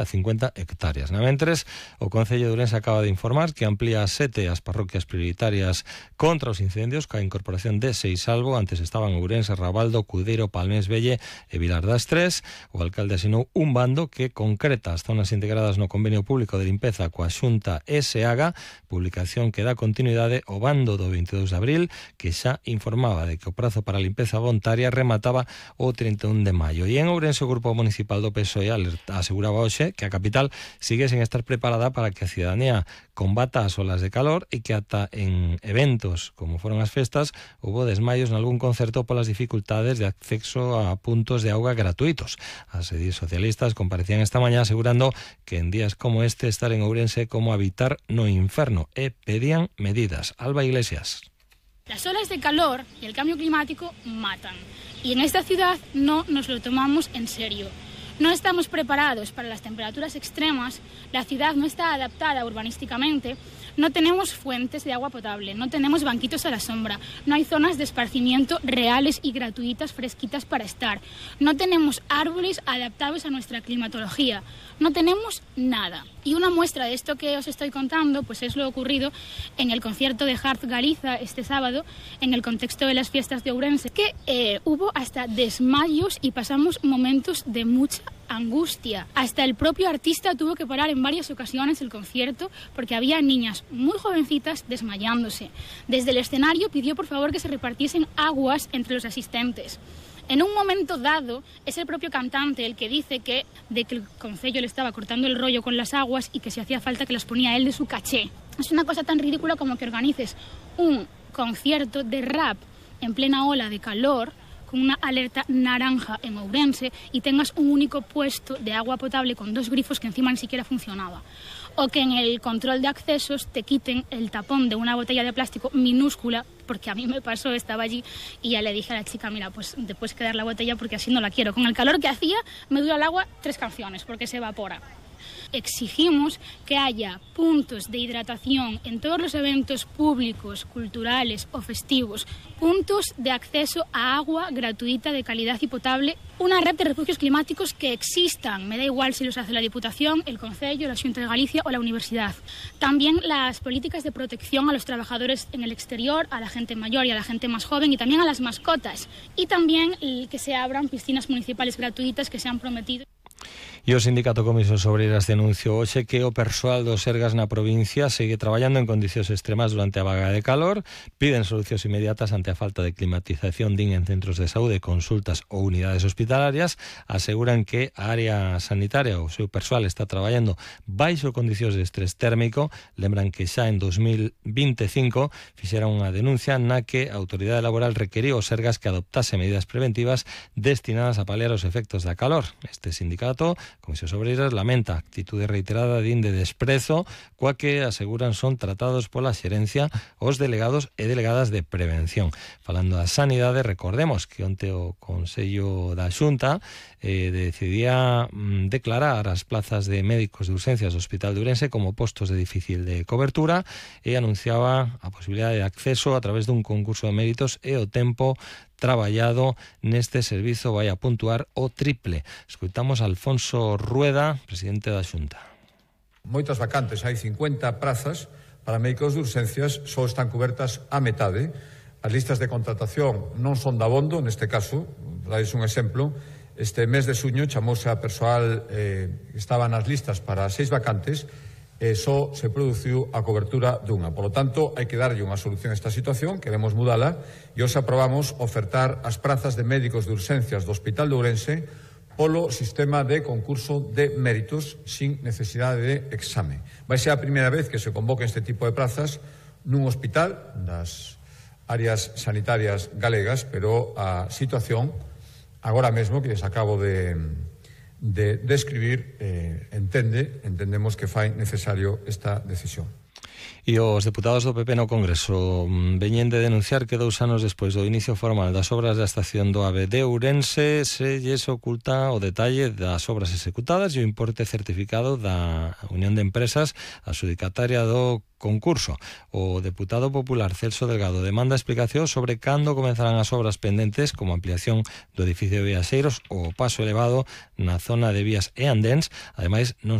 a 50 hectáreas. Mentres, o Concello de Ourense acaba de informar que amplía a 7 as parroquias prioritarias contra os incendios, ca incorporación de Seisalvo. Antes estaban Ourense, Rabaldo, Cudeiro, Palmés Velle e Vilar das Tres. O alcalde asinou un bando que concreta as zonas integradas no convenio público de limpeza coa Xunta SH, publicación que dá continuidade ao bando do 22 de abril, que xa informaba de que o prazo para a limpeza voluntaria remataba o 31 de maio. E en Ourense o Grupo Municipal do PSOE aseguraba hoxe que a capital sigue sen estar preparada para que a cidadanía combata as olas de calor e que ata en eventos como foron as festas houbo desmaios nalgún concerto polas dificultades de acceso a puntos de auga gratuitos. As edís socialistas comparecían esta mañá asegurando que en días como este estar en Ourense como habitar no inferno e pedían medidas. Alba Iglesias. Las olas de calor y el cambio climático matan y en esta ciudad no nos lo tomamos en serio. No estamos preparados para las temperaturas extremas, la ciudad no está adaptada urbanísticamente, no tenemos fuentes de agua potable, no tenemos banquitos a la sombra, no hay zonas de esparcimiento reales y gratuitas fresquitas para estar, no tenemos árboles adaptados a nuestra climatología, no tenemos nada. Y una muestra de esto que os estoy contando pues es lo ocurrido en el concierto de Harz Galiza este sábado, en el contexto de las fiestas de Ourense, que hubo hasta desmayos y pasamos momentos de mucha angustia. Hasta el propio artista tuvo que parar en varias ocasiones el concierto porque había niñas muy jovencitas desmayándose. Desde el escenario pidió por favor que se repartiesen aguas entre los asistentes. En un momento dado, es el propio cantante el que dice que el concello le estaba cortando el rollo con las aguas y que si hacía falta que las ponía él de su caché. Es una cosa tan ridícula como que organices un concierto de rap en plena ola de calor con una alerta naranja en Ourense y tengas un único puesto de agua potable con 2 grifos que encima ni siquiera funcionaba. O que en el control de accesos te quiten el tapón de una botella de plástico minúscula, porque a mí me pasó, estaba allí y ya le dije a la chica, mira, pues te puedes quedar la botella porque así no la quiero. Con el calor que hacía me dura el agua 3 canciones porque se evapora. Exigimos que haya puntos de hidratación en todos los eventos públicos, culturales o festivos, puntos de acceso a agua gratuita de calidad y potable, una red de refugios climáticos que existan, me da igual si los hace la Diputación, el Concello, la Xunta de Galicia o la Universidad. También las políticas de protección a los trabajadores en el exterior, a la gente mayor y a la gente más joven y también a las mascotas. Y también que se abran piscinas municipales gratuitas que se han prometido. E o Sindicato Comisos Obreiras denunciou hoxe que o persoal do Sergas na provincia segue traballando en condicións extremas durante a vaga de calor, piden solucións inmediatas ante a falta de climatización en centros de saúde, consultas ou unidades hospitalarias, aseguran que a área sanitaria, o seu persoal está traballando baixo condicións de estrés térmico, lembran que xa en 2025 fixeron unha denuncia na que a Autoridade Laboral requeriu ao Sergas que adoptase medidas preventivas destinadas a paliar os efectos da calor. Este sindicato, Comisiones Obreiras, lamenta a actitude reiterada de desprezo coa que aseguran son tratados pola xerencia os delegados e delegadas de prevención. Falando da sanidade, recordemos que onte o Consello da Xunta decidía declarar as plazas de médicos de urxencias do Hospital de Ourense como postos de difícil de cobertura e anunciaba a posibilidade de acceso a través dun concurso de méritos e o tempo traballado neste servizo vai a puntuar o triple. Escoitamos a Alfonso Rueda, presidente da Xunta. Moitas vacantes, hai 50 prazas para médicos de urxencias, só están cobertas a metade. As listas de contratación non son dabondo, neste caso, dais un exemplo, este mes de xuño chamouse a persoal que estaba nas listas para 6 vacantes, só se produciu a cobertura dunha. Por lo tanto, hai que darlle unha solución a esta situación, queremos mudala, e hoxe aprobamos ofertar as prazas de médicos de urxencias do Hospital de Ourense polo sistema de concurso de méritos sin necesidade de exame. Vai ser a primeira vez que se convoca este tipo de plazas nun hospital das áreas sanitarias galegas, pero a situación, agora mesmo que les acabo de describir, entendemos que fai necesario esta decisión. E os deputados do PP no Congreso veñen de denunciar que 2 anos despois do inicio formal das obras da estación do AVE de Ourense se lles oculta o detalle das obras executadas e o importe certificado da Unión de Empresas adxudicataria do concurso. O deputado popular Celso Delgado demanda explicación sobre cando comenzarán as obras pendentes como ampliación do edificio de Viaxeiros ou o paso elevado na zona de vías e andéns. Ademais, non